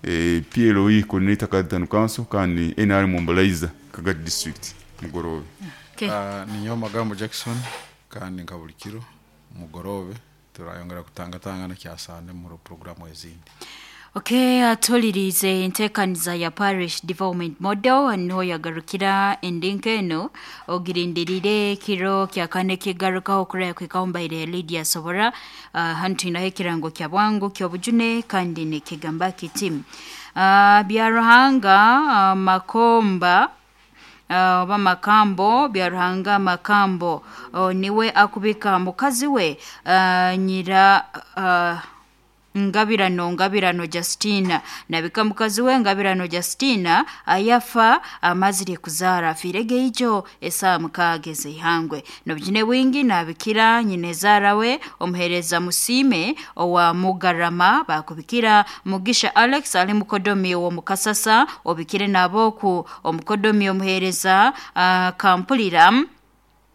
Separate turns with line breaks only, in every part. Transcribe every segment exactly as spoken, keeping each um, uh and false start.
eh, P L O E coordinator Kagadi Town Council kandi N R M mobilizer Kagadi District mugorobe.
Okay.
Uh, ninyo Magambo Jackson kandi nka buli kiro mugorobe turayongera kutangatangana kyasande mu programu ezindi.
Okay, atulirize enteekaniza ya Parish Development Model niho yagarukira endinka eno ogirindirire kiro kya kane kigarukaho kuraya kwikaho mbaire Lydia Sobora. uh, hanu twinaho ekirango kya bwangu ky'obujune kandi nikigamba kiti uh, Byaruhanga uh, Makomba oba uh, Makambo Byaruhanga Makambo uh, niwe akubika mukazi we uh, nyira uh, Ngabirano Ngabirano Justina nabika mukazi we Ngabirano Justina ayafa amazire kuzara afirege ijo esaa mukaaga ez'eihangwe nobujune bwingi nabikira nyinezara we omuhereza Musime owa Mugarama bakubikira Mugisha Alex ali mukodomi wo Mukasasa obikire naboku omukodomi omuhereza uh, Kampulira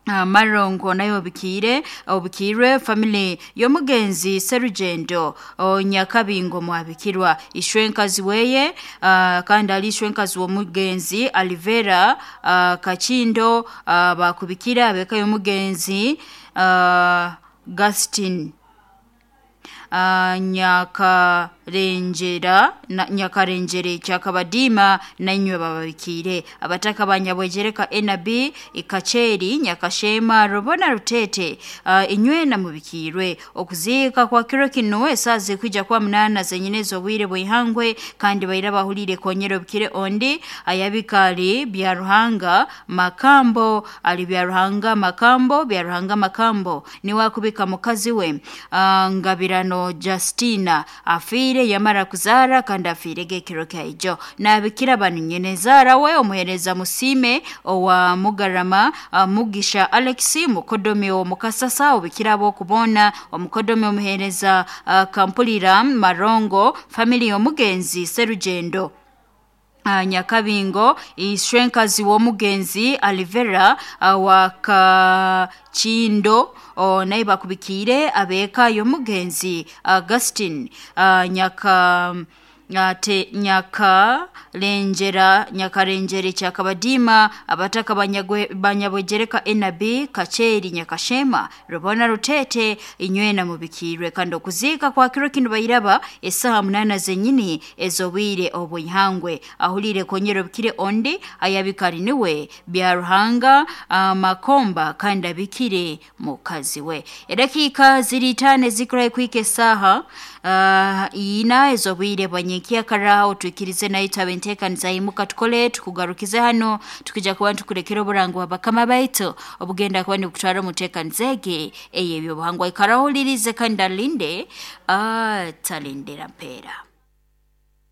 Uh, Marongo nayo obikire obikirwe family y'omugenzi Serugendo Nyakabingo mwabikirwa ishwenkazi weye uh, kandi ali ishwenkazi w'omugenzi Alivera uh, Kachindo uh, bakubikira abeka y'omugenzi uh, Gastin Uh, Nyakarenjera na, Nyakarenjere Kyakabadima nainywe bababikire abataka banyabwejereka N B Ikacheri Nyakashema Rubona Rutete uh, inywe na mubikirwe okuziika kwa kiro kino esaze kwija kwa munana zenyinezo bwire bwihangwe kandi baira bahulire konyero bikire ondi ayabikali Byaruhanga Makambo ali Byaruhanga Makambo Byaruhanga Makambo ni wakubika mukazi we uh, Ngabirano Justina afire yamara kuzara kandi afire gekiro kaijo nabikira banu nyenezara we omuhereza Musime owa Mugarama uh, Mugisha Alex mukodomi wo Mukasasa obikira bo kubona omukodomi omuhereza uh, Kampulira Marongo family omugenzi Serugendo Uh, Nyakabingo ishwenkazi w'omugenzi Alivera uh, wa Kachindo uh, naye bakubikire abeka y'omugenzi Augustin uh, Nyaka te Nyaka lenjera Nyakarenjere Kyakabadima abataka banyabwejereka N B Kacheri Nyakashema Rubona Rutete inywe na mubikirwe kandi okuziika kwa kiro kino bayiraba esaha munana zenyini ezobwire obwihangwe ahulire konyero bikire ondi ayabikari niwe Byaruhanga uh, Makomba kandi abikire mukazi we edakika ziri tane zikuraye kwike saha uh, ina ezobwire bwanyekia karaho tuikirize nayo tabentekaniza imuka tukole tukugarukize hano tukija kuba tukurekera oburango abakama baitu obugenda kuba nikutwara omutekanizege eyebyo buhangwa ikarahulirize kandi alinde atalindira mpera.